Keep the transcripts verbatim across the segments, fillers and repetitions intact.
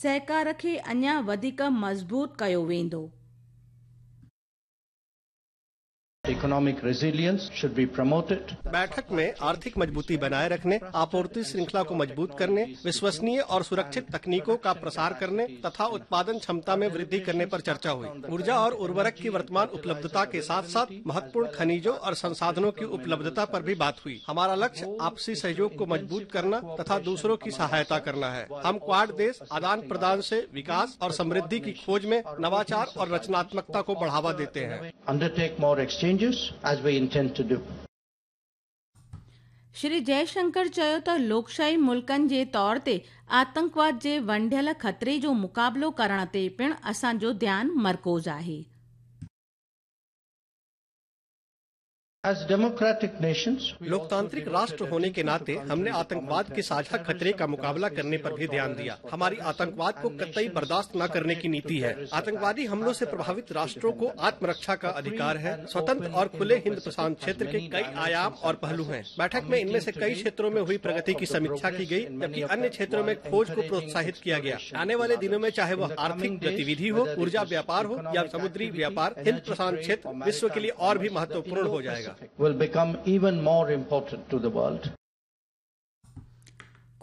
सहकार खे अञा वधीक मज़बूत कयो वेंदो। Economic resilience should be promoted. बैठक में आर्थिक मजबूती बनाए रखने, आपूर्ति श्रृंखला को मजबूत करने, विश्वसनीय और सुरक्षित तकनीकों का प्रसार करने तथा उत्पादन क्षमता में वृद्धि करने पर चर्चा हुई। ऊर्जा और उर्वरक की वर्तमान उपलब्धता के साथ साथ महत्वपूर्ण खनिजों और संसाधनों की उपलब्धता पर भी बात हुई। हमारा लक्ष्य आपसी सहयोग को मजबूत करना तथा दूसरों की सहायता करना है। हम क्वाड देश आदान प्रदान से विकास और समृद्धि की खोज में नवाचार और रचनात्मकता को बढ़ावा देते हैं। Undertake more exchanges as we intend to do. Shri Jaishankar चयो त लोकशाही मुल्कनि जे तौर ते आतंकवाद जे वंढियल ख़तरे जो मुक़ाबिलो करण ते पिणु असांजो ध्यानु मरकूज़ आहे। As democratic nations, लोकतांत्रिक राष्ट्र होने के नाते हमने आतंकवाद के साझा खतरे का मुकाबला करने पर भी ध्यान दिया। हमारी आतंकवाद को कतई बर्दाश्त न करने की नीति है। आतंकवादी हमलों से प्रभावित राष्ट्रों को आत्मरक्षा का अधिकार है। स्वतंत्र और खुले हिंद प्रशांत क्षेत्र के कई आयाम और पहलू हैं। बैठक में इनमें से कई क्षेत्रों में हुई प्रगति की समीक्षा की गई, जबकि अन्य क्षेत्रों में खोज को प्रोत्साहित किया गया। आने वाले दिनों में चाहे वह आर्थिक गतिविधि हो, ऊर्जा व्यापार हो या समुद्री व्यापार, हिंद प्रशांत क्षेत्र विश्व के लिए और भी महत्वपूर्ण हो जाएगा। will become even more important to the world.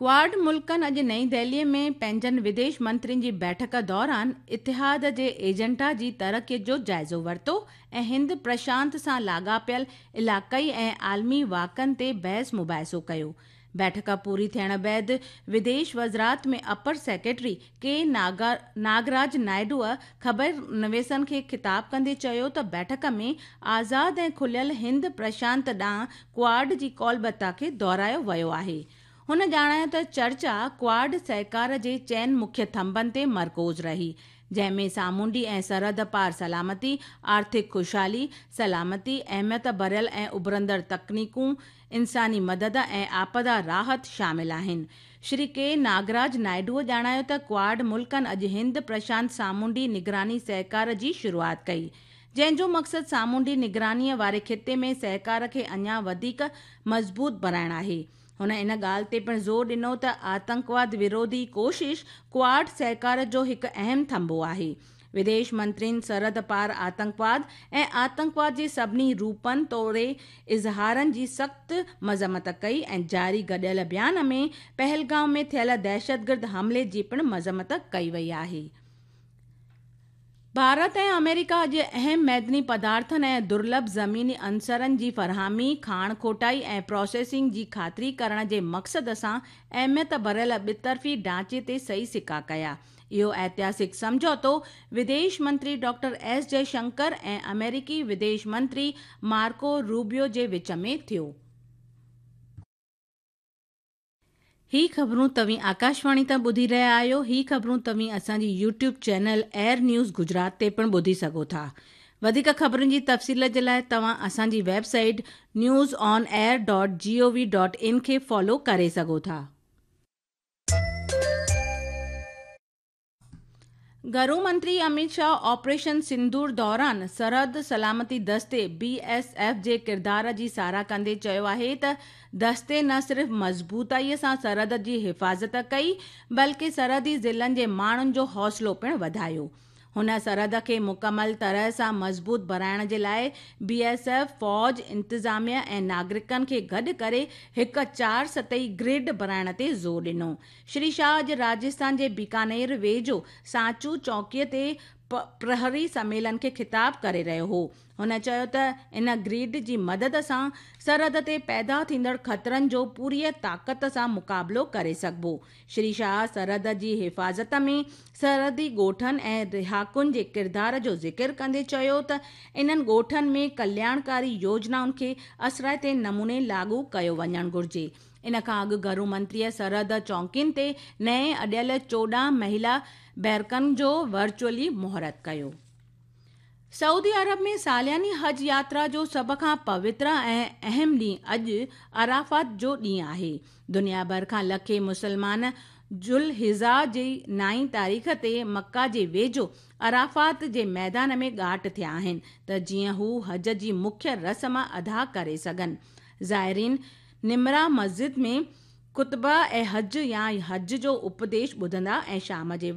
Quad मुल्कनि अॼु नई दिल्लीअ में पंहिंजनि विदेश मंत्रियुनि जी बैठक दौरान इतिहाद जे एजेंडा जी तरक़ीअ जो जाइज़ो वरितो ऐं हिंद प्रशांत सां लाॻापियल इलाइक़ाई ऐं आलमी वाक़नि ते बहस मुबाहिसो कयो। बैठक पूरी थियण बाद विदेश वज़ारत में अपर सेक्रेटरी के नागा नागराज नायडूअ ख़बर नवेसनि खे ख़िताब कंदे चयो त बैठक में आज़ाद ऐं खुलियल हिंद प्रशांत ॾांहुं क्वाड जी कौलबता खे दोहरायो वियो आहे। हुन ॼाणायो त चर्चा क्वाड सहकार जे चइनि मुख्य थंभनि ते मरकूज़ रही, जंहिंमें सामुंडी ऐं सरहद पार सलामती, आर्थिक ख़ुशहाली, सलामती, अहमियत भरियल ऐं उभरंदड़ तकनीकूं, इंसानी मदद ऐं आपदा राहत शामिल आहिनि। श्री के नागराज नायडूअ ॼाणायो त क्वाड मुल्कनि अॼु हिंद प्रशांत सामुंडी निगरानी सहकार जी शुरूआत कई, जंहिंजो मक़सदु सामुंडी निगरानीअ वारे ख़िते में सहकार खे अञा वधीक मज़बूत बणाइणु आहे। हुन इन ॻाल्हि ते पिणु ज़ोर ॾिनो त आतंकवाद विरोधी कोशिश क्वाड सहकार जो हिकु अहम थंभो आहे। विदेश मंत्रियुनि सरहद पार आतंकवाद ऐं आतंकवाद जे सभिनी रूपनि तोड़े इज़हारनि जी सख़्तु मज़म्मत कई ऐं जारी गॾियल बयान में पहलगांव में थियल दहशतगर्द हमले जी पिणु मज़म्मत कई वई आहे। भारत ऐं अमेरिका अॼु अहम मैदनी पदार्थनि ऐं दुर्लभ ज़मीनी अंसरनि जी फरहामी, खाण खोटाई ऐं प्रोसेसिंग जी ख़ातिरी करण जे मक़सद सां अहमियत भरियल ॿितरफ़ी ढांचे ते सही सिक्का कया। इहो ऐतिहासिक सम्झौतो विदेश मंत्री डॉक्टर एस जयशंकर ऐं अमेरिकी विदेश मंत्री मार्को रूबियो जे विच में थियो। ही ख़बरूं तव्हीं आकाशवाणी तां ॿुधी रहिया आहियो। ही ख़बरूं तव्हीं असांजी YouTube channel air news Gujarat ते पिणु ॿुधी सघो था। वधीक ख़बरुनि जी तफ़सील जे लाइ तव्हां असांजी website news on air dot G O V dot in खे फॉलो करे सघो था। घरू मंत्री अमित शाह ऑपरेशन सिंदूर दौरान सरहद सलामती दस्ते बी एस एफ जे किरदार जी सराह कंदे चयो आहे त दस्ते न सिर्फ़ मज़बूताईअ सां सरहद जी हिफ़ाज़त कई, बल्कि सरहदी ज़िलनि जे माण्हुनि जो हौसलो पिणु वधायो। हुन सरहद खे मुकमल तरह सां मज़बूत बणाइण जे लाइ बी एस एफ, फ़ौज, इंतिज़ामिया ऐं नागरिकनि खे गॾु करे हिकु चार सतही ग्रिड बणाइण ते ज़ोर ॾिनो। श्री शाह अॼु राजस्थान जे बीकानेर वेझो सांचू चौकीअ ते प्रहरी सम्मेलन खे ख़िताब करे रहियो हो। हुन चयो त इन ग्रिड जी मदद सां सरहद ते पैदा थींदड़ ख़तरनि जो पूरीअ ताक़त सां मुक़ाबिलो करे सघिबो। श्री शाह सरहद जी हिफ़ाज़त में सरहदी ॻोठनि ऐं रिहाकुनि जे किरदार जो ज़िक्र कंदे चयो त इन्हनि ॻोठनि में कल्याणकारी योजनाउनि खे असराइते नमूने लागू कयो वञणु घुरिजे। इन खां अॻु घरू मंत्रीअ सरहद चौकियुनि ते नए अॾियल चोॾहं महिला बैरकनि जो वर्चुअली मुहूर्त कयो। सऊदी अरब में सालियानी हज यात्रा जो सभ खां पवित्र ऐं अहम ॾींहुं अॼु अराफात जो ॾींहुं आहे। दुनिया भर खां लखे मुसलमान जुलहिजा जी नाई तारीख़ ते मक्का जे वेझो अराफात जे मैदान में ॻाठ थिया आहिनि त जीअं हू हज जी मुख्य रस्म अदा करे सघनि। ज़ाइरीन निमरा मस्जिद में ख़ुतबा ऐं हज या हज जो उपदेश ॿुधंदा ऐं शाम जे